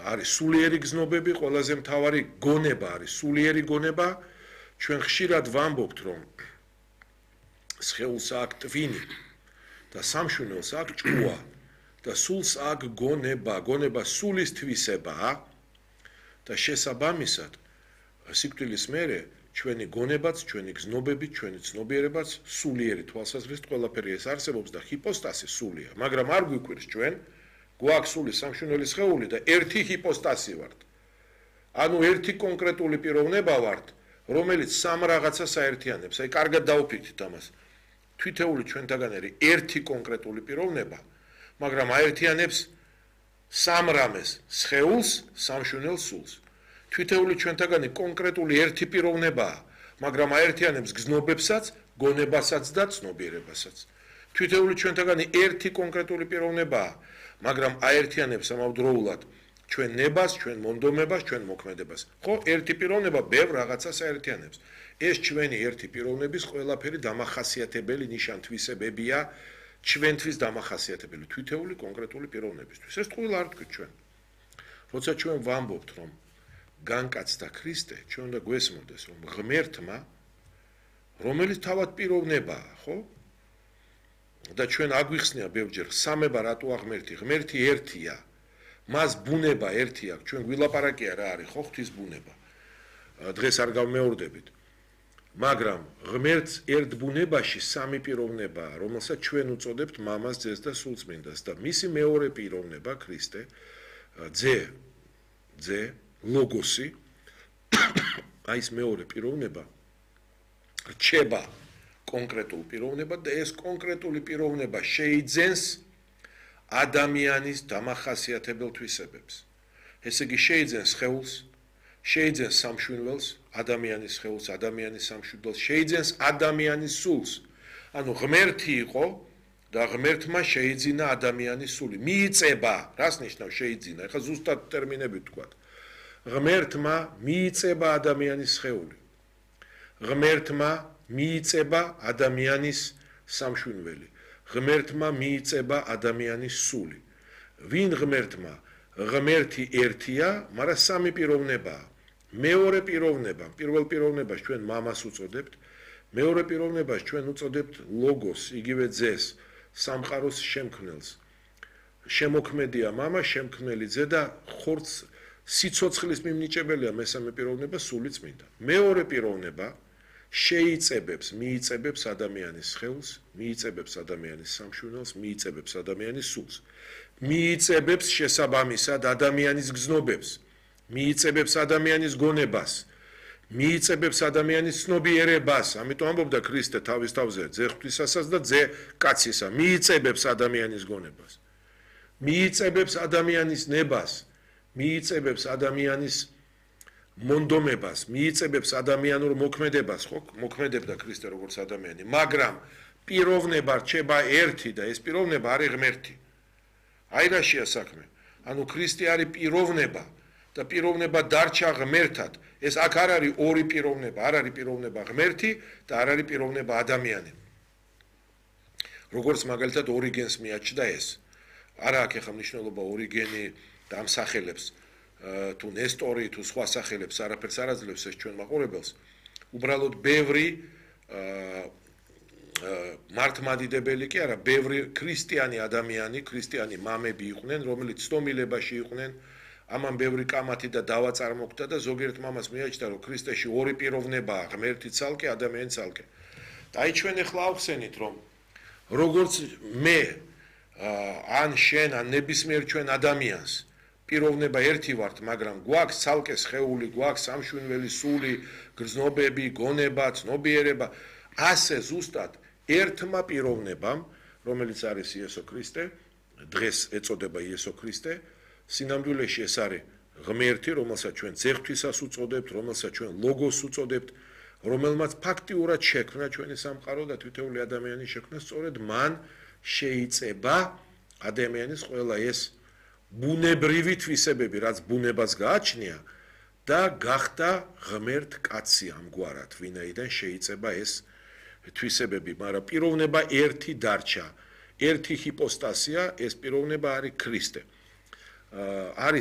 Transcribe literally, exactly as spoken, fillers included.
არის სულიერი გზნობები, ყველაზე მთავარი გონება არის სულიერი გონება. ჩვენ ხშირად ვამბობთ, რომ სხეულს აქვს ტვინი და სამშვენელს აქვს ჭკუა და სულს აქვს გონება, გონება სულის თვისებაა და შესაბამისად სიკვდილის მერე ჩვენი გონებაც, ჩვენი გზნობები, ჩვენი ცნობიერებაც სულიერი თვალსაზრისით ყველაფერი ეს არსებობს და ჰიპოსტასი სულია, მაგრამ არ გვიკვირს ჩვენ გვაქვს სული სამშვენელი სხეული და ერთი ჰიპოსტასი ვართ. ანუ ერთი კონკრეტული პიროვნება ვართ, რომელიც სამ რაღაცას აერთიანებს. აი, კარგად დაუფიქრეთ ამას. თვითეული ჩვენთაგანერი ერთი კონკრეტული პიროვნება, მაგრამ აერთიანებს სამ რამეს: სხეულს, სამშვენელ სულს. თვითეული ჩვენთაგანი კონკრეტული ერთი პიროვნებაა, მაგრამ აერთიანებს გზნობებსაც, გონებასაც და ცნობიერებასაც. თვითეული ჩვენთაგანი ერთი კონკრეტული პიროვნებაა, მაგრამ აერთიანებს ამავდროულად ჩვენ ნებას, ჩვენ მონდომებას, ჩვენ მოქმედებას. ხო, ერთი პიროვნება ბევრ რაღაცას აერთიანებს. ეს ჩვენი ერთი პიროვნების ყველაფერი დამახასიათებელი ნიშან-თვისებებია, ჩვენთვის დამახასიათებელი თვითეული კონკრეტული პიროვნებისთვის. ეს თქვილა არ თქვით ჩვენ. როცა ჩვენ ვამბობთ, რომ განკაცდა ქრისტე, ჩვენ უნდა გვესმოდეს, რომ ღმერთმა, რომელიც თავად პიროვნებაა, ხო? და ჩვენ აგვიხსნია ბევრჯერ, სამება რატო აღმერთი? ღმერთი ერთია. მას ბუნება ერთი აქვს, ჩვენ გვილაპარაკია რა არის, ხო, ღვთის ბუნება. დღეს არ გავმეორდებით. მაგრამ ღმერთს ერთ ბუნებაში სამი პიროვნებაა, რომელსაც ჩვენ უწოდებთ მამას, ძეს და სულწმინდას და მისი მეორე პიროვნება ქრისტე, ძე, ძე, ლოგოსი, აი ეს მეორე პიროვნება რჩება კონკრეტულ პიროვნებად და ეს კონკრეტული პიროვნება შეიძენს ადამიანის დამახასიათებელ თვისებებს. ესე იგი შეიძენს სხეულს, შეიძენს სამშვენველს, ადამიანის სხეულს, ადამიანის სამშვენველს, შეიძენს ადამიანის სულს. ანუ ღმერთი იყო და ღმერთმა შეიძინა ადამიანის სული. მიიწება, რას ნიშნავს შეიძინა? ეხლა ზუსტად ტერმინებით ვთქვათ. ღმერთმა მიიწება ადამიანის სხეული. ღმერთმა მიიწება ადამიანის სამშვენველი. ღმერთმა მიიწება ადამიანის სული. ვინ ღმერთმა? ღმერთი ერთია, მაგრამ სამი პიროვნებაა. მეორე პიროვნება, პირველ პიროვნებას ჩვენ მამას უწოდებთ, მეორე პიროვნებას ჩვენ უწოდებთ ლოგოს, იგივე ძეს, სამყაროს შემქმნელს. შემოქმედია მამა, შემქმნელი ძე და ხორცს სიცოცხლის მიმნიჭებელია მესამე პიროვნება სული წმინდა. მეორე პიროვნება შეიწებებს, მიიწებებს ადამიანის სხეულს, მიიწებებს ადამიანის სამშვენელს, მიიწებებს ადამიანის სულს. მიიწებებს შესაბამისად ადამიანის გზნობებს, მიიწებებს ადამიანის გონებას, მიიწებებს ადამიანის ცნობიერებას. ამიტომ ამბობდა ქრისტე თავის თავზე, ძე ღვთისასაც და ძე კაცისა, მიიწებებს ადამიანის გონებას. მიიწებებს ადამიანის ნებას, მიიწებებს ადამიანის მონდომებას, მიიწებებს ადამიანურ მოქმედებას, ხო, მოქმედებდა ქრისტე როგორც ადამიანი, მაგრამ პიროვნება რჩება ერთი და ეს პიროვნება არის ღმერთი. აი რაშია საქმე. ანუ ქრისტე არის პიროვნება და პიროვნება დარჩა ღმერთად. ეს აქ არ არის ორი პიროვნება, არ არის პიროვნება ღმერთი და არ არის პიროვნება ადამიანი. როგორც მაგალითად ორიგენს მიაჩნდა ეს. არა აქ ახლა მნიშვნელობა ორიგენი და ამ სახელებს თუ ნესტორი თუ სხვა სახელებს არაფერს არ აძლევს ეს ჩვენ მაყურებელს. უბრალოდ ბევრი მართლმადიდებელი კი არა, ბევრი ქრისტიანი ადამიანი, ქრისტიანი მამები იყვნენ, რომელიც ცნობილებაში იყვნენ, ამან ბევრი კამათი და დავა წარმოგვდა და ზოგიერთ მამას მიაჩნდა, რომ ქრისტეში ორი პიროვნებაა, ღმერთი ცალკე, ადამიანი ცალკე. და აი ჩვენ ახლა ავხსენით, რომ როგორც მე ან შენ ან ნებისმიერ ჩვენ ადამიანს პიროვნება ერთი ვართ, მაგრამ გვაქვს ცალკე სხეული, გვაქვს სამშვენველი სული, გრძნობები, გონება, ცნობიერება, ასე ზუსტად ერთმა პიროვნებამ, რომელიც არის იესო ქრისტე, დღეს ეწოდება იესო ქრისტე, სინამდვილეში ეს არის ღმერთი, რომელსაც ჩვენ ძეღვთვისას უწოდებთ, რომელსაც ჩვენ ლოგოს უწოდებთ, რომელმაც ფაქტიურად შექმნა ჩვენი სამყარო და თითოეული ადამიანის შექმნა, სწორედ მან შეიწება ადამიანის ყველა ეს ბუნებრივი თვისებები, რაც ბუნებას გააჩნია და გახდა ღმერთ კაცი ამგვარად, ვინაიდან შეიწება ეს თვისებები, მაგრამ პიროვნება ერთი დარჩა, ერთი ჰიპოსტასია, ეს პიროვნება არის ქრისტე. არის